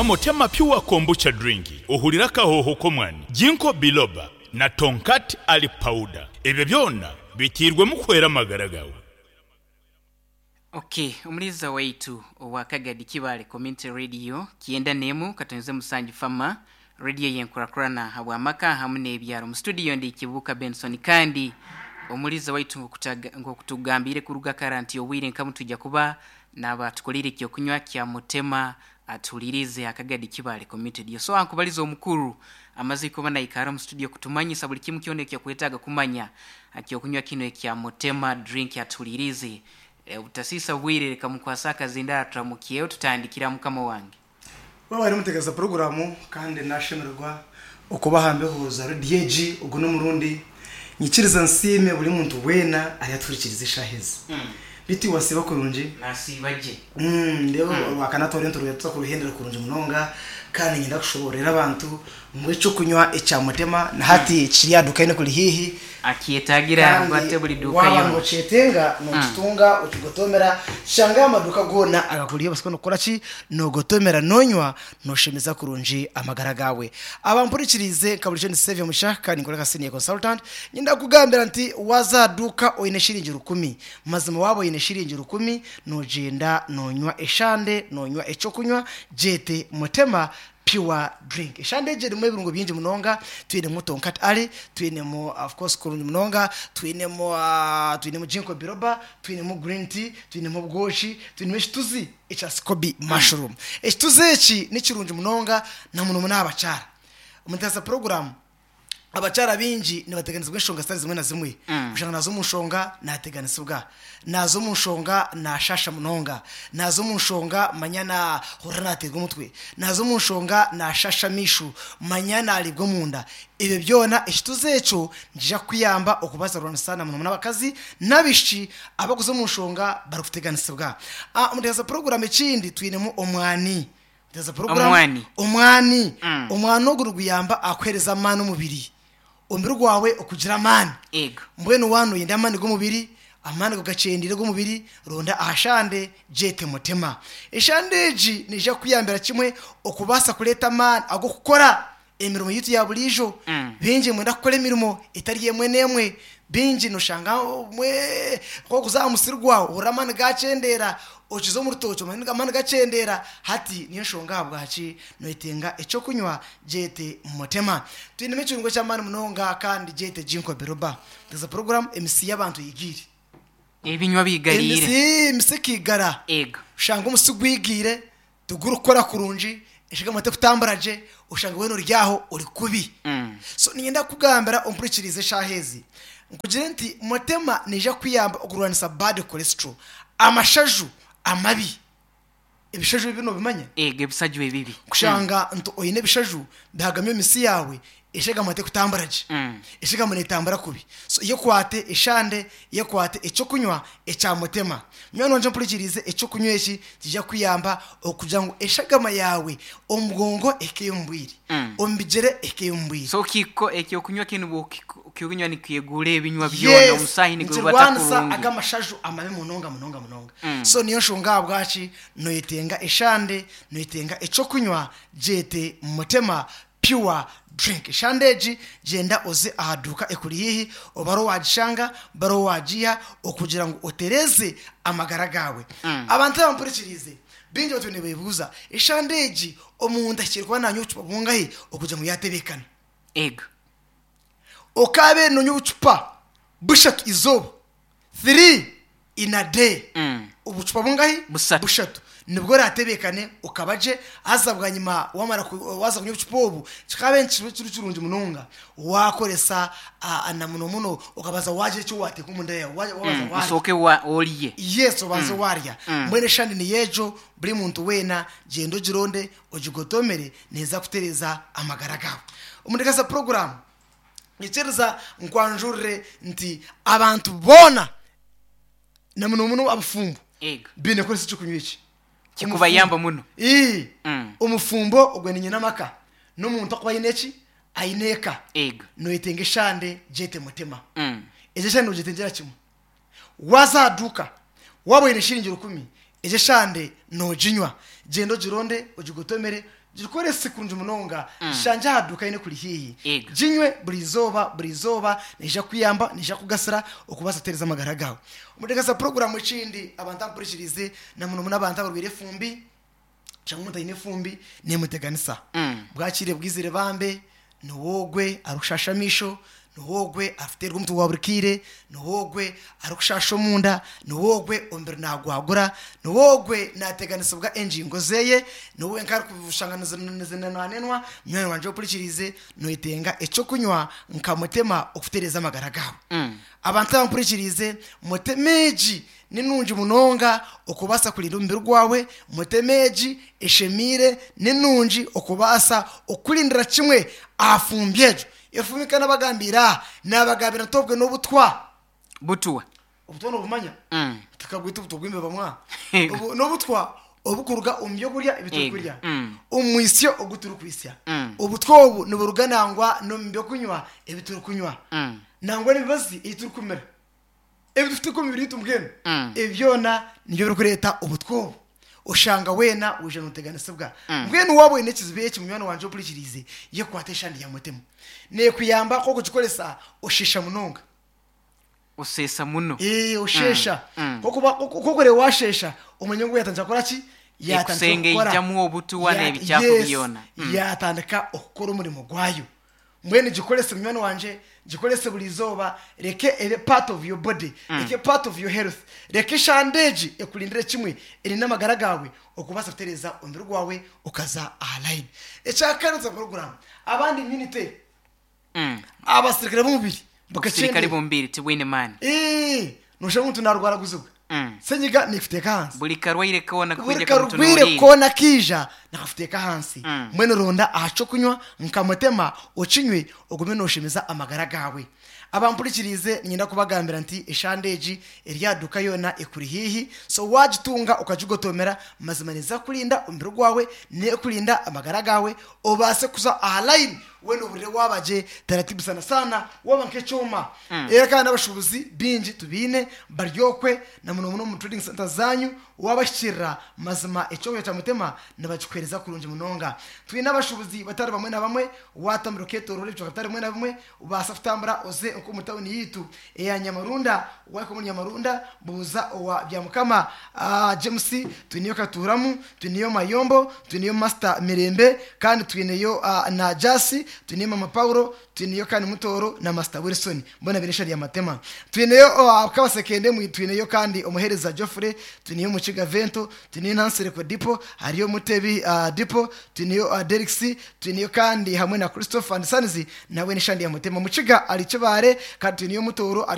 Nywa Mutema Pure Kombucha Drink ohurire akahooho k'omwani, Ginkgo Biloba na Tongkat Ali Powder. Ebyo byona biteirwemu kuhwera amagara gaawe. Ok, omuliiza waitu owa Kagadi Kibaale Community Radio kyenda n'emu katonze musanju Fama Radio y'enkurakurana habw'amaka hamu n'ebyaro. Mu studio ndi Kibuuka Benson kandi omuliiza waitu nk'okutugambiire kuruga kara nti obwire nkamu twija kuba n'abaatukoleire ekyokunywa kya Mutema atuhuliriize aha Kagadi Kibaale Community Radio. So ankubaliza omukuru amaze kuba naikara omu studio kutumanyisa buli kimu kyona ekyokwetaaga kumanya aha kyokunywa kinu ekya Mutema Drink atuhuliriize. Obutasiisa bwire reka mukwase akazindaaro turamukyeho tutandikire aha mukama wange. Webare mutegereza puroguramu kandi nashemererwa okuba aha mbeho za rediyo egi ogu n'omurundi. Nyikiriza nsiime buri muntu weena ariyatuhurikiriza eshaaha ezi. Beitu iwe wasiiba kurungi? Nasiiba gye. Ndeeba Orwakana twariyo nituruga tuza kuruhendera kurungi munonga kandi niinyenda kushoboororera abantu ngu eky'okunywa ekya Mutema na hati kiri aha duuka yoona ekuri haihi. Akyetaagira Kandi ate buri duuka waaba yoona. nookyetenga nookitunga okigotomera shanga aha maduuka goona agakuri haihi obaasa kuba nookora ki? Noogotomera noonywa nooshemeza kurungi amagara gaawe. Abampurikiriize nka burijo ndi Saviour Musha kandi ninkora nka senior consultant, niinyenda kukugambira nti waaza aha duuka oine shiringi rukumi, mazima waaba oine shiringi rukumi noogyenda noonywa eshande, noonywa eky'okunywa gyete Mutema Pure drink. Eshande egi erimu ebirungo bingi munonga, twinemu Tonkat Ali, twinemu of course kurungi munonga, twinemu twinemu Ginkgo biloba, twinemu green tea, twinemu obwoki, twinemu ekituzi ekya scoby mushroom. Ekituzi eki ni kirungi munonga na muno muno aha bakyara. Omu puroguramu Abakyara baingi nibateganisibwa enshonga zitari zimwe na zimwe. Oshanga naaza omu nshonga naateganisibwa, naaza omu nshonga naashaasha munonga, naaza omu nshonga manya naahurira naateerwa omutwe, naaza omu nshonga naashaasha amaisho, manya naariibwa omunda. Ebyo byona ekituzi ekyo nikiija kukuyamba okubaasa kurwanisa na munomuno abakazi n'abaishiki abarikuza omu nshonga barikuteganisibwa. Omu nteekateeka za puroguraamu ekindi twinemu omwani. There's program Omwani. omwani omwani ogu niguyamba aha kuheereza amaani omubiri omubiri gwawe okugira amaani Ego. mbwenu waaba noyenda amaani g'omubiri amaani ago gakyendeire ag'omubiri ronda aha shande gyete mutema eshande egi neija kukuyambira kimwe okubaasa kureeta amaani ag'okukora emirimo yaitu ya buriijo. Baingi nimwenda kukora emirimo etari emwe n'emwe. Baingi noshanga obumwe ku orikuza aha musiri gwawe ohurira amaani gakyendeera, okiza omu rutookye amaani gakyendeera. Hati niyo nshonga ahabwaki noyetenga eky'okunywa gyete Mutema. Twinemu ekirungo ky'amaani munonga kandi gyete Ginkgo Biloba. There's a program emisi y'abantu eigiire. Ebinywa biigariire. Emisi emisi ekaigara. Ego. Oshanga omusi gwigiire. Tigurikukora kurungi, eshagama tekutambura gye, oshanga weena ori aho ori kubi. So niinyenda kukugambira ompurikirize eshaaha ezi, nkugire nti Mutema neija kukuyamba okurwanisa bad cholesterol, amashaju amabi. Ebishaju ebibi noobimanya? Eego, ebisaju ebibi. Kushanga nti oine ebishaju bihagami omu mitsi yaawe, eshagama tekutambura gye. Eshagama neetambura kubi. So yekwate eshande, yekwate eky'okunywa ekya Mutema. Munywani wangye ompurikiriize, eky'okunywa eki nikiija kukuyamba okugira ngu eshagama yaawe omu bwongo ehikeyo omu bwire, omu bigyere ehikeyo omu bwire. So kiko eky'okunywa kinu bw'okinywa nikyeguura ebinywa byona, Yes, omusaahi nigurubata nikirwanisa kurungi. aga amashaju amabi munonga munonga munonga. So niyo nshonga ahabwaki noyetenga eshande, noyetenga eky'okunywa gyete Mutema Pure Drink. Eshande egi gyenda oze aha duuka ekuri haihi obe ariho waagishanga, obe ariho waagiiha okugira ngu otereeze amagara gaawe. Abantu abampurikiriize baingi batwire nibeebuuza, eshande egi omuntu ahikire kuba naanywa obucupa bungahi okugira ngu yaatebeekana? Ego. Okaabaire noonywa obucupa bushatu eizooba, 3 in a day, obucupa bungahi? Busatu. Bushatu. Nibwo oratebeekane okaba gye, haza bwanyima wamara waaza kunywa obucupa obu, kikaabaire nikiba kiri kirungi munonga waakoresa na muno muno okabanza waagira eki waateeka omunda yaawe, waabanza waarya. Osooke orye. Yes, obanze waarya. Mbwenu eshande niyo egyo, buri muntu weena gyenda ogironde, ogigotomere, neeza kutereeza amagara gaawe. Omu nteekateeka za puroguraamu. Nyikiriza nkwanjurire nti abantu boona na muno muno abafumbo Ego. baine kukoresa eky'okunywa eki. Kikubayamba muno. Ii, Mm. omufumbo ogwo ni nyina amaka n'omuntu akuba aine eki? Aine eka. Ego. Noyetenga eshande gyete mutima. Mm. Egyo eshande nogyetengyera kimwe. Waaza aha duuka waaba oine shiringi rukumi, egyo eshande nooginywa. Gyenda ogironde, ogigotomere. Gikorese kurungi munonga, gishangye aha duuka eine kuri haihi. Ego. Ginywe buri izooba, buri izooba, neija kukuyamba, neija kukugasira okubaasa kutereeza amagara gaawe. Omuteekateesa puroguraamu ekindi, abantu abampurikiriize, na muno muno abantu abarwaire efumbi, shanga omuntu aine efumbi neemuteganisa. Bwakire bwizire bambe, niwe ogwe arikushaasha amaisho, niwe ogwe arikuteerwa omutwe gwa buri kaire, niwe ogwe arikushaasha omunda, niwe ogwe omubiri naagwagura, niwe ogwe naateganisibwa engingo zeye, niwe wenka arikushanga nizinenwanenwa. Munywani wangye ompurikiriize, noyetenga eky'okunywa nka mutema okutereeza amagara gaawe. Abantu abampurikiriize, mutema egi ni nungi munonga okubaasa kurinda omubiri gwawe, mutema egi eshemeire ni nungi okubaasa okukurindira kimwe aha fumbi egyo. Efumbi nka nabagambiire aha, nabagambira nti obwe n'obutwa. Butwa. Obutwa nobumanya? Tukabwita obutwa bw'embeba mwa. Obu n'obutwa obukuruga omu by'okurya ebi turikurya, omu mwisyo ogu turikwitsya. Obutwa obu niburuga nangwa n'omu by'okunywa ebi turikunywa, nangwa n'emibazi ei turikumira. Ebi tufite omu mibiri yaitu mbwenu, ebi byona nibyo birikureeta obutwa obu. Oshanga weena waija nooteganisibwa. Mbwenu waaba oine ekizibu eki munywani wangye ompurikiriize, yekwate eshandi ya Mutima. Neekuyamba ku okugikoresa osheesha munonga. Oseesa muno. Ee, osheesha. Nk'okuba nk'okureeba waasheesha, omanye ngu yaatandika kukora ki? Yaatandika kukora. Ekusengeijamu obutuwa n'ebikyafu Yes, byona. yaatandika okukora omurimo gwayo. Mbwenu gikorese munywani wangye, gikorese buri izooba, reka ebe part of your body, reka ebe part of your health, reka eshande egi ekurindire kimwe, erinde amagara gaawe okubaasa kutereeza omubiri gwawe okaza aha line. Ekyakana nituza puroguraamu, abandi immunity, abasirikare b'omubiri Obusirikare bukakyendeera. bw'omubiri tibwine maani. Eeh, noshanga omuntu naarwaraguzibwa, senyiga neekuteeka ahansi. Buri karwaire koona Buri kwija karwaire kamutunuuriire. koona kaija nakakuteeka ahansi. Mbwenu ronda aha ky'okunywa nka mutema okinywe ogume nooshemeza amagara gaawe. Abampurikiriize niinyenda kubagambira nti eshande egi eri aha duuka yoona ekuri haihi, so waagitunga okagigotoomera mazima neeza kukurinda omubiri gwawe, neekurinda amagara gaawe obaase kuza aha layini weena oburire waaba gye taratibu sana sana waaba nk'ekyoma. Reero kandi n'abashuubuzi baingi tubaine bari okwe na muno muno omu trading centres zaanyu waabahikirira mazima eky'okurya kya Mutema nibakikuheereza kurungi munonga. Twine abashuubuzi batari bamwe na bamwe waatambura okeetooroora ebicweka bitari bimwe na bimwe obaasa kutambura oze nk'omu tawuni yaitu eya Nyamarunda waahika omuri Nyamarunda buuza owa Byamukama James twineyo Katuuramu twineyo Mayombo twineyo Master Mirembe kandi twineyo na Jasi twineyo Mama Paulo Twineyo kandi Mutooro na Master Wilson boona baine eshari ya Matema. Twineyo Kabasekende, twineyo kandi Omuheereza Geoffrey, twineyo Mukiga Vento, twineyo Nansereko Dipo, hariyo Mutebi Dipo, twineyo Derricks, twineyo kandi hamwe na Christopher and Sons nawe n'eshandi ya Mutema. Mukiga ari Kibaare kandi twineyo Mutooro ari.